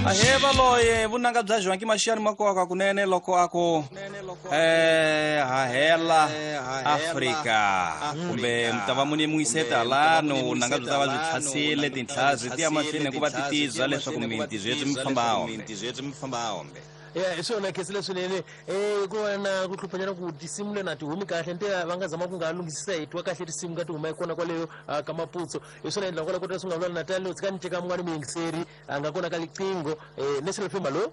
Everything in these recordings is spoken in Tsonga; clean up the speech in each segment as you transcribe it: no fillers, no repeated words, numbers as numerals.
Ahee valoye vunanga bya Joaquim Mashiyani makoka kunene loko a ku hahela Afrika kumbe mi ta va muni muyiseta halano vunanga byi ta va byi tlhasile tintlhazi ti ya mahlweni ku va ti tibya leswaku minti byi mi famba hombe. Ya, hi swona khensile swinene. Ku va na ku hluphanyana ku tinsimu lena ti humi kahle, nte va nga zama ku nga lunghisisa hi twa kahle tinsimu ka ti huma kona kwaleyo ka Maputso. Hi swona endla kwala kota swi nga vula Natal u tshika ni teka mun'wani muyingiseri a nga kona ka liqingho. National FM, hallo.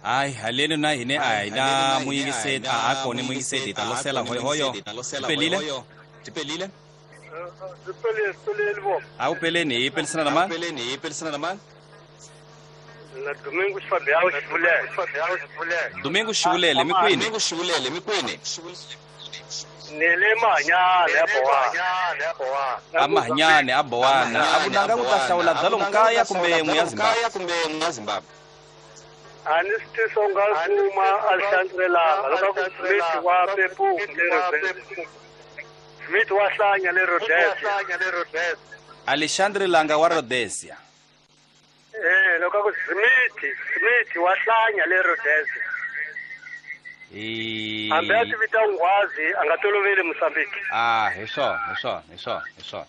Hayi, haleni na hine a hi na muyingiseti, a ha kona muyingiseti, hi ta losela hoyohoyo. Pelile? Pelile? A wu peleni, hi pelisana na mani? Na Domingo Fabião Xivulele. Domingo Xivulele, mi kwini? Ni le Mahanyane ya Bowana. A Mahanyane a Bowana. A vunanga ku ta hlawula bya lomu kaya kumbe n'we ya Zimbabwe? A ni swi tivi swa nga kuma a hlantswelanga loko ku Smith wa pepuku le Rhodesia. Smith wa hlanya le Rhodesia. Alexandre Langa wa Rhodesia. Loko ku Smith wa hlanya le Rhodesia. Hambi a ti vita nghwazi a nga toloveli Mozambique. Ah, hi swona, hi swona, hi swona, hi swona.